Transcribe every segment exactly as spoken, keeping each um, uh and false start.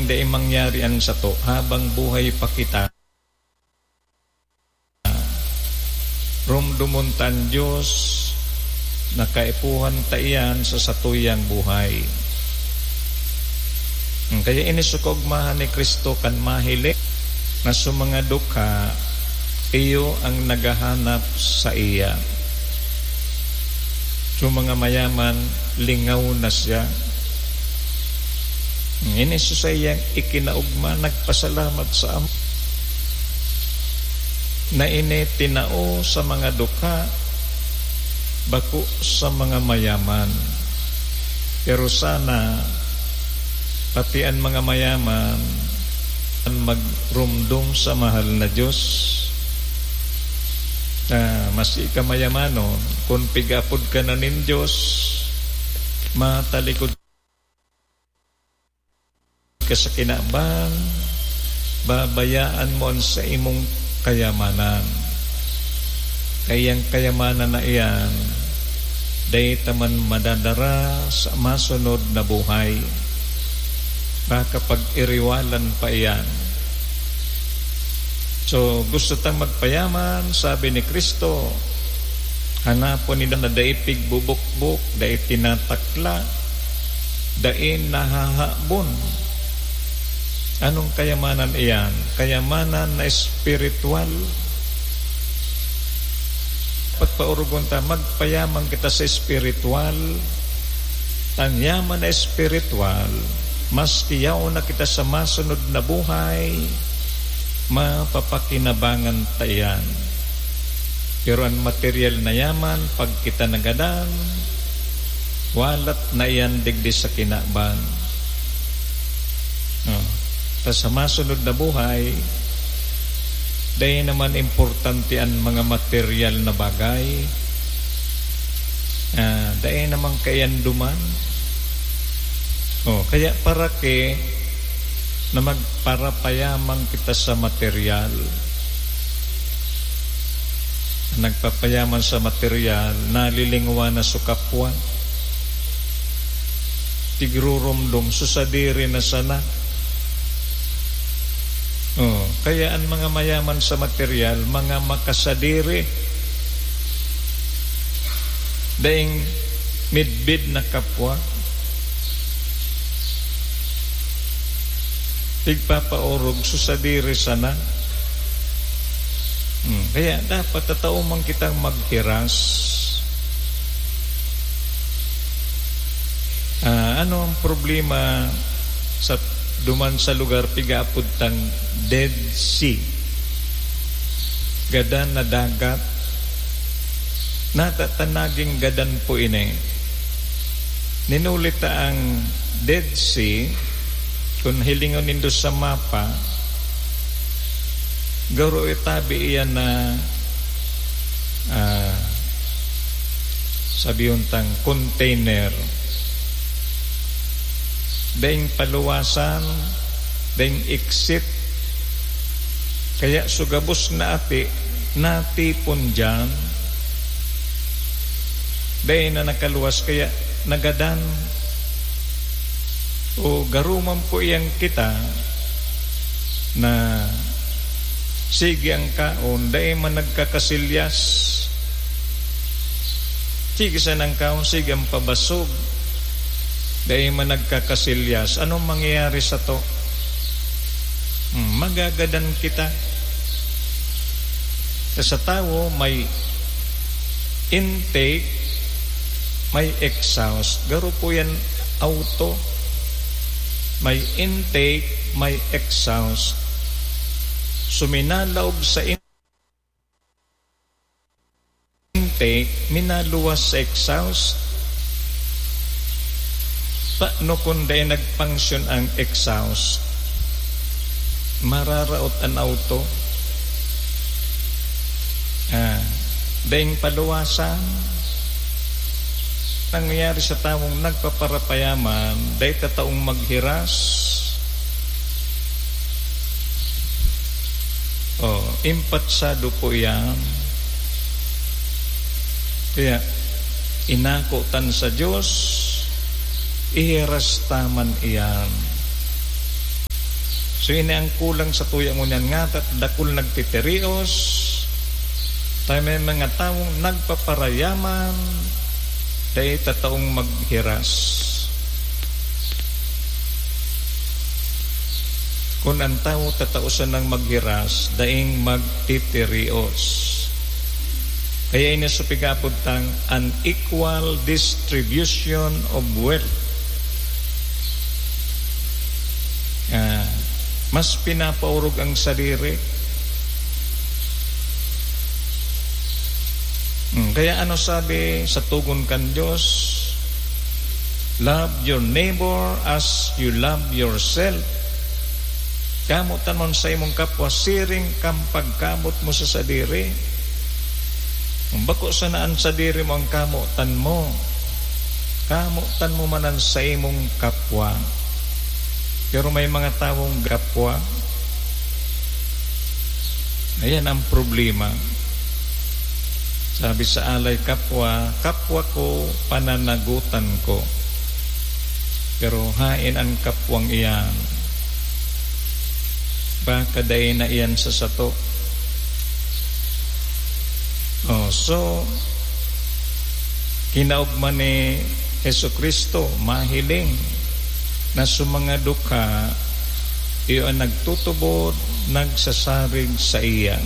dai mangyari an sato habang buhay pa kita. Romdomon ta an Dios na kaipuhan ta iyan sa satuyang buhay. Kaya ini so kaogmahan ni Cristo kan mahiling na sa mga dukha, iyo ang naghahanap saiya. Sa mga mayaman, lingaw na siya. Ini sa saiyang ikinaogma, nagpasalamat sa Ama na ini tinao sa mga dukha, bako sa mga mayaman. Pero sana, pati an mga mayaman, an magromdom sa mahal na Dios. Ah, maski ka mayamanon, kun pig-apod ka na nin Dios, matalikod ka sa kinaban, babayaan mo an saimong kayamanan. Kaya an kayamanan na iyan, dai ta man madadara sa masunod na buhay. Baka pag-iriwalan pa iyan. So, gusto tang magpayaman, sabi ni Cristo, hanapon ninda na dai pigbubukbok, dai tinatakla, dai nahahabon. Anong kayamanan iyan? Kayamanan na espiritual. Pagpaorogon ta, magpayaman kita sa espiritual. An yaman na espiritual, maski yaon na kita sa masunod na buhay, mapapakinabangan ta iyan. Pero an material na yaman, pag kita nagadan, walat na iyan digdi sa kinaban. Oh. Ta sa masunod na buhay, dai naman importante an mga material na bagay. Ah, dai naman kaiyan duman. Oh, kaya para ke na magparapayaman kita sa material. Nagpapayaman sa material, nalilingwa na sa kapwa. Tigrurumdom, sa sadiri na sana. Oh, kaya an mga mayaman sa material, mga makasadiri. Daing midbid na kapwa. Tigpapaorog sa sadiri sana. Hmm, kaya dapat tatao man kitang maghiras. Ah, ano ang problema sa duman sa lugar pigaapod tang Dead Sea? Gadan na dagat. Nata ta naging gadan po ini. Ninuli ta ang Dead Sea, kun hilingon nindo sa mapa, garo itabi iyan na, ah, sabihon tang container. Daing paluwasan, daing exit. Kaya so gabos na ati, natipon diyan. Dai na nakaluwas, kaya nagadan. O garo man po iyang kita na sige ang kaon, dai man nagkakasilyas. Sige sana ang kaon, sige ang pabasog. Dai man nagkakasilyas. Anong mangyayari sato? Hmm, magagadan kita. Sa tawo, may intake, may exhaust. Garo po yan auto. May intake, may exhaust. So, minalaog sa in-, intake, minaluwas sa exhaust. Paano kung dai nag-function ang exhaust? Mararaot an auto. Ah, daing paluwasan. Nangyayari sa tawong nagpaparapayaman, dai ta taong maghiras. Oh, impatsado po iyan. Kaya, inako tan sa Diyos, ihiras ta man iyan. So, ini ang kulang sa tuya ngunyan nga, ta-, dakul nagtitirios, tayo may mga tawong nagpaparayaman, dai ta taong maghiras. Kun ang tawo tatao sanang maghiras, daing magtitirios. Kaya ini sa pig-aapod tang unequal distribution of wealth. Ah, mas pinapaorog ang sadiri. Hmm, kaya ano sabi sa tugon kan Dios? "Love your neighbor as you love yourself." Kamotan mo an saimong kapwa siring kan pagkamot mo sa sadiri. Kung bako sana an sadiri mo ang kamotan mo, kamotan mo man an saimong kapwa. Pero may mga tawong kapwa, ayan ang problema. Sabi sa alay, "Kapwa, kapwa ko, pananagutan ko." Pero haen an kapwang iyan? Baka dai na iyan sa sato. Oh, so, kinaogma ni Jesu-Cristo, mahiling na sa mga dukha, iyo an nagtutubod, nagsasarig saiya.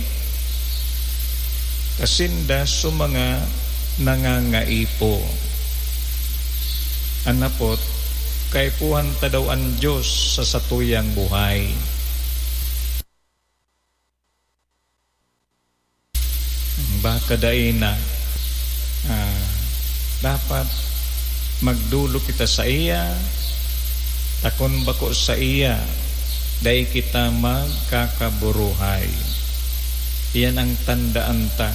Kasinda sa mga nangangaipo. An hapot, kaipuhan ta daw an Dios sa satuyang buhay. Baka dai na. Ah, dapat magdolok kita saiya, ta kun bako saiya, dai kita magkakaburuhay. Iyan ang tandaan ta.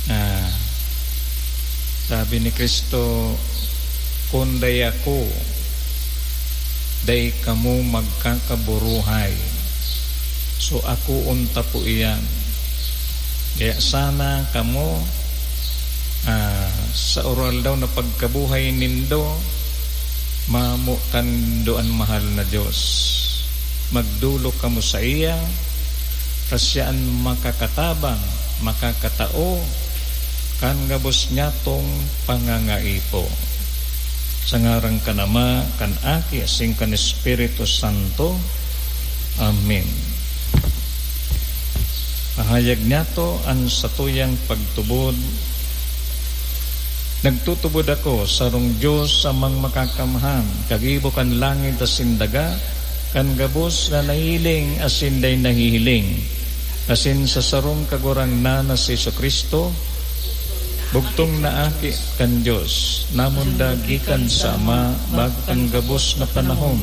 Ah, sabi ni Cristo, "Kun dai ako, dai kamo magkakaburuhay." So, akoon ta po iyan. Kaya sana kamo, ah, sa aroaldaw na pagkabuhay nindo, mamotan nindo an mahal na Dios. Magdolok kamo saiya, ta siya an makakatabang, makakatao, kan gabos niyatong pangangaipo. Sa ngaran kan Ama, kan Aki, asin kan Espiritu Santo. Amen. Pahayag niyato an satuyang pagtubod. Nagtutubod ako sa sarong Dios, Amang Makakamhan, kagibo kan langit asin daga, kan gabos na nahihiling asin dai nahihiling, asin sa sarong Kagurangnan na si Jesu-Cristo, bugtong na Aki kan Dios, namundag gikan sa Ama bago kan gabos na panahon.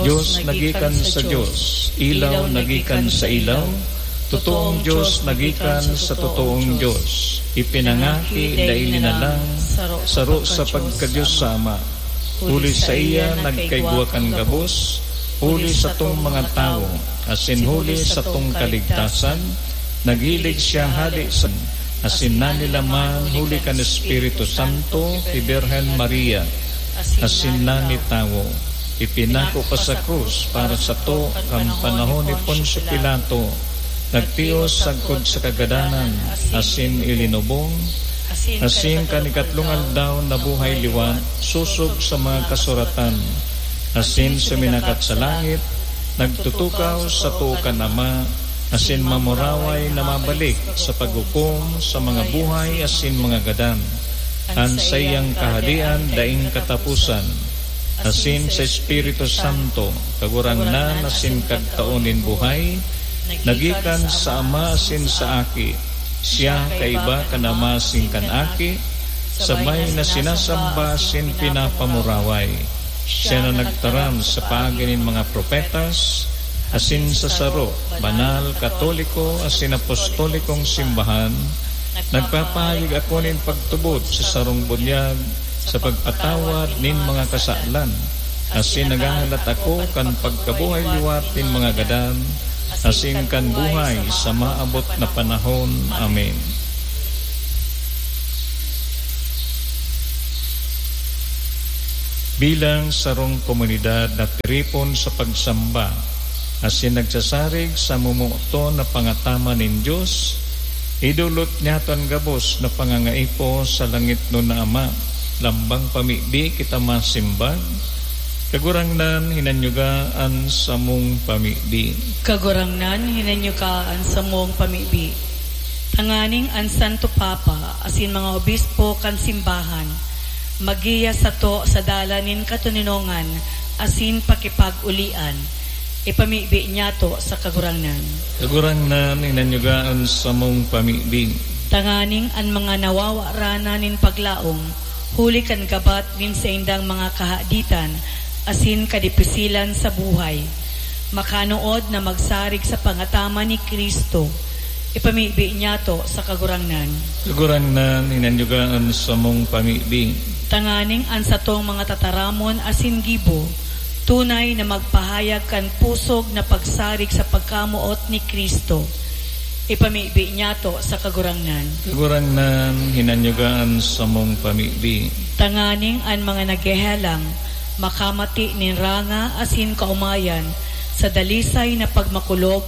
Dios na gikan sa Dios, ilaw na gikan sa ilaw, totoong Dios na gikan sa totoong Dios, ipinangaki, dai linalang, saro sa pagka-Dios sa Ama. Huli saiya nagkaigwa kan gabos, huli satong mga tawo, asin huli satong kaligtasan, naghilig siya hale sa, asin nanilaman huli kan Espiritu Santo ki Birhen Maria, asin nanitawo. Ipinako pa sa krus para sato kan panahon ni Poncio Pilato, nagtios sagkod sa kagadanan, asin ilinubong, asin kan ikatlong aldaw nabuhay liwat, sosog sa mga kasuratan, asin suminakat sa langit, nagtutukaw sa too kan Ama, asin mamuraway na mabalik sa paghukom sa mga buhay asin mga gadan. An saiyang kahadian daing kataposan, asin sa Espiritu Santo, Kagurangnan asin Kagtao nin buhay, nagikan sa Ama asin sa Aki. Siya kaiba kan Ama asin kan Aki, sabay na sinasamba asin pinapamuraway. Siya na nagtaram sa paagi nin mga propetas, asin sa saro, banal, katoliko, asin apostolikong simbahan, nagpapahayag ako nin pagtubod sa sarong bunyag sa pagpatawad nin mga kasalan, asin naghahalat ako kan pagkabuhay liwat nin mga gadan, asin kan buhay sa maabot na panahon. Amen. Bilang sarong komunidad na tiripon sa pagsamba asin nagsasarig sa momoton na pangataman nin Dios, idolot niyato an gabos na pangangaipo sa langitnon na Ama. Lambang pamibi kita masimbag, Kagurangnan, hinanyuga an samong pamibi. Kagurangnan, hinanyuga an samong pamibi. Tanganing an Santo Papa asin mga obispo kan simbahan maggiya sato sa dalan nin katoninongan asin pakipag-olian, ipamibi niyato sa Kagurangnan. Kagurangnan, hinanyuga an samong pamibi. Tanganing an mga nawawaranan nin paglaom huli kan gabat nin saindang mga kahaditan asin kadipisilan sa buhay, makanood na magsarig sa pangataman ni Cristo, ipamibi niyato sa Kagurangnan. Kagurangnan, hinanyuga an samong pamibi. Tanganing an satong mga tataramon asin gibo tunay na magpahayag kan pusog na pagsarig sa pagkamoot ni Cristo, ipamibi niyato sa Kagurangnan. Kagurangnan, hinanyuga an samong pamibi. Tanganing an mga naghehelang makamati nin ranga asin kaomayan sa dalisay na pagmakulog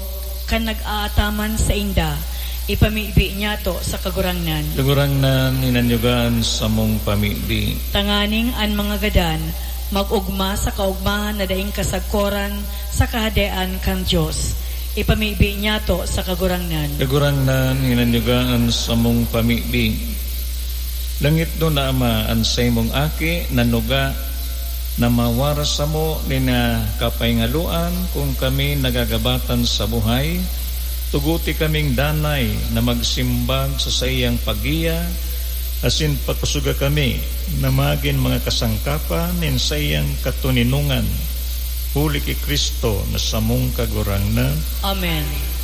kan nag-aataman sainda, ipamibi niyato sa Kagurangnan. Kagurangnan, hinanyuga an samong pamibi. Tanganing an mga gadan mag-ogma sa kaogmahan na daing kasagkoran sa Kahadean kan Dios, ipamibi niyato sa Kagurangnan. Kagurangnan, hinanyuga an samong pamibi. Langitnon na Ama, an saimong Aki nanuga na mawaras samo nin, ah, kapahingaluan kun kami nagagabatan sa buhay. Tuguti kaming danay na magsimbag sa saiyang paggiya, asin pakusoga kami na magin mga kasangkapan nin saiyang katoninongan, huli ki Cristo na samong Kagurangnan. Amen.